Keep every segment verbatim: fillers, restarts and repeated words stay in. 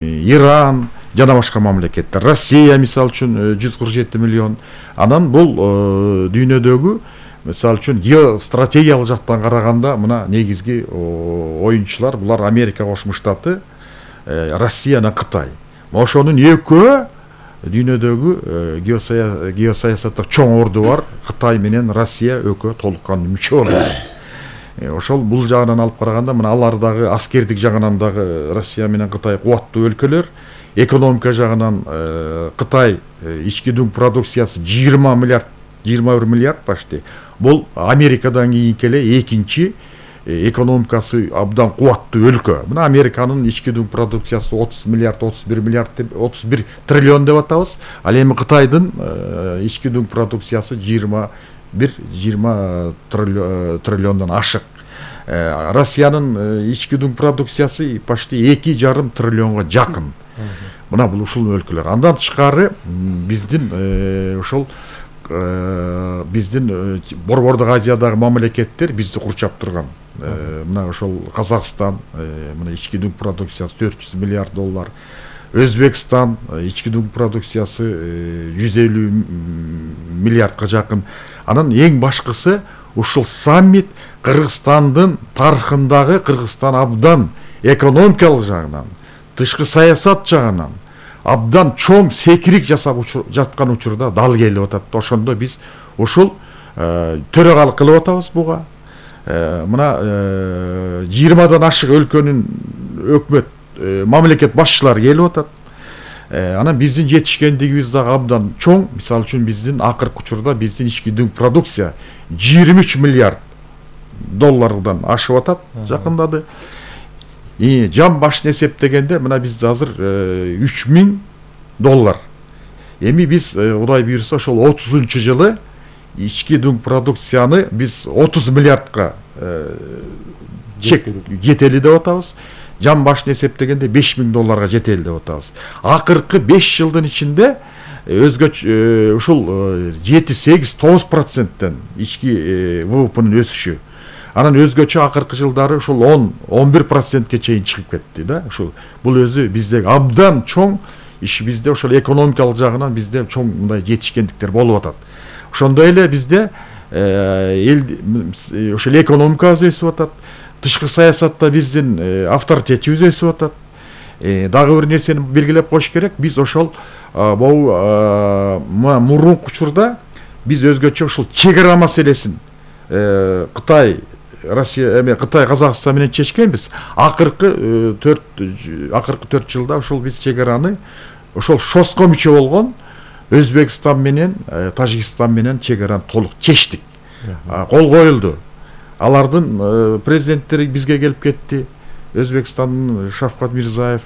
Иран жана башка мамлекеттер, Россия мисалы үчүн жүз кырк жети миллион. Анан бул дүйнөдөгү мисалы үчүн геостратегиялык жактан караганда мына негизги оюнчулар булар Америка Кошмо Штаты, Россия жана Кытай. Ошонун экөө дүйнөдөгү геосаясатта чоң орду бар. Кытай менен Россия экөө толук кандуу мүчө болот. Ошол бул жагынан алып караганда мына алар дагы аскердик жагынан дагы Россия менен Кытай кубаттуу өлкөлөр. Экономика жагынан Кытай ички дүң продукциясы жыйырма миллиард, жыйырма бир миллиард почти. Бул Америкадан кийинки эле экинчи экономикасы абдан кубаттуу өлкө. Мына Американын ички дүң продукциясы отуз миллиард, отуз бир миллиард, отуз бир триллион деп атабыз. Ал эми Кытайдын ички дүң продукциясы жыйырма бир жыйырма триллиондон ашык. Россиянын ички дүң продукциясы почти эки жарым триллионго жакын. Мына бул ушул өлкөлөр. Андан тышкары биздин ошол биздин Борбордук Азиядагы мамлекеттер бизди курчап турган. Мына ошол Казакстан, мына ички дүң продукциясы төрт жүз миллиард доллар. Өзбекстан ички дүң продукциясы жүз элүү миллиардка жакын. Анан эң башкысы ушул саммит Кыргызстандын тарыхындагы Кыргызстан абдан экономикалык жагынан, тышкы саясат жагынан абдан чоң секирик жасап жаткан учурда дал келип атат. Ошондо биз ушул төрагалык кылып атабыз буга. Мына жыйырмадан ашык өлкөнүн өкмөт мамлекет башчылары келип атат. Анан биздин жетишкендигибиз дагы абдан чоң. Мисалы үчүн биздин акыркы учурда биздин ички дүң продукция жыйырма үч миллиард доллардан ашып атат, жакындады. И жан башына эсептегенде мына бизде азыр үч миң доллар. Эми биз Кудай буйрса ошол отузунчу жылы ички дүң продукцияны биз отуз миллиардка жетели деп атабыз. Жан башына эсептегенде беш миң долларга жетели деп атабыз. Акыркы беш жылдын ичинде өзгөчө ушул жети сегиз тогуз проценттен ички вэ вэ пнын өсүшү. Анан өзгөчө акыркы жылдары ушул он он бир процентке чейин чыгып кетти да. Ушул бул өзү биздеги абдан чоң иш, бизде ошол экономикалык жагынан бизде чоң мындай жетишкендиктер болуп атат. Ошондой эле бизде эл ошол экономикабыз өсүп атат. Тышкы саясатта биздин авторитетибиз өсүп атат. Дагы бир нерсени белгилеп коюш керек. Биз ошол бул мурунку учурда биз өзгөчө ушул чек ара маселесин Кытай, Россия, эме Кытай, Казакстан менен чечкенбиз. Акыркы төрт акыркы төрт жылда ушул биз чек араны ошол шоско мүчө болгон Өзбекстан менен Тажикстан менен чек араны толук чечтик. Кол коюлду. Алардын президенттери бизге келип кетти. Өзбекстандын Шавкат Мирзиёев,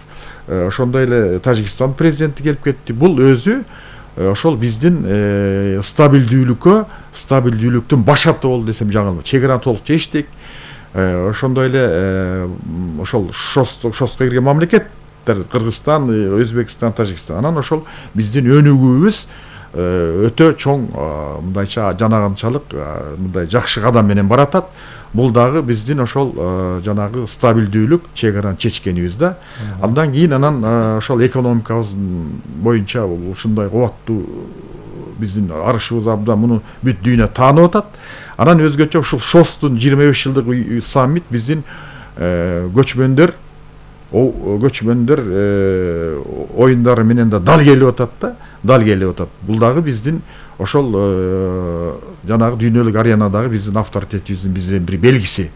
ошондой эле Тажикстан президенти келип кетти. Бул өзү ошол биздин стабилдүүлүккө, стабилдүүлүктүн башаты болду десем жаңылма. Чек араны толук чечтик. Ошондой эле ошол шоско кирген мамлекеттер Кыргызстан, Өзбекстан, Тажикстан. Анан ошол биздин өнүгүүбүз өтө чоң мындайча жанагынчалык мындай жакшы кадам менен баратат. Бул дагы биздин ошол жанагы стабилдүүлүк, чек араны чечкенибиз да. Андан кийин анан ошол экономикабыз боюнча ушундай кубаттуу биздин арышыбыз абдан муну бүт дүйнө таанып атат. Анан өзгөчө ушул шостун жыйырма беш жылдык саммит биздин көчмөндөр көчмөндөр оюндары менен да дал келип атат да, дал келип атат. Бул дагы биздин ошол жанагы дүйнөлүк аренадагы биздин авторитетибиздин биздин бир белгиси.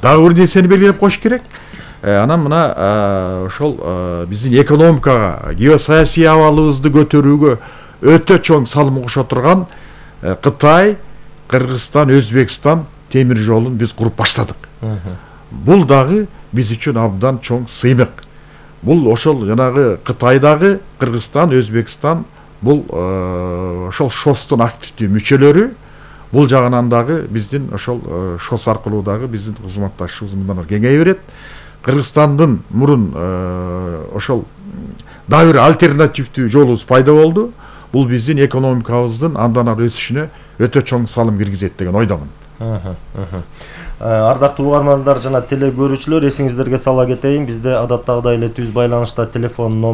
Дагы бир нерсени белгилеп коюш керек. Анан мына ошол биздин экономикага, геосаясий абалыбызды көтөрүүгө өтө чоң салым кошо турган Кытай, Кыргызстан, Өзбекстан темир жолун биз куруп баштадык. Бул дагы биз үчүн абдан чоң сыймык. Бул ошол жанагы Кытайдагы Кыргызстан, Өзбекстан бул ошол шостун активдүү мүчөлөрү. Бул жагынан дагы биздин ошол шос аркылуу дагы биздин кызматташыбыз мындан ары кеңейе берет. Кыргызстандын мурун ошол дагы бир альтернативдүү жолубуз пайда болду. Бул биздин экономикабыздын андан ары өсүшүнө өтө чоң салым киргизет деген ойдомун. Ардактуу угармандар жана теле көрүүчүлөр, эсиңиздерге сала кетейин, бизде адаттагыдай эле түз байланышта телефон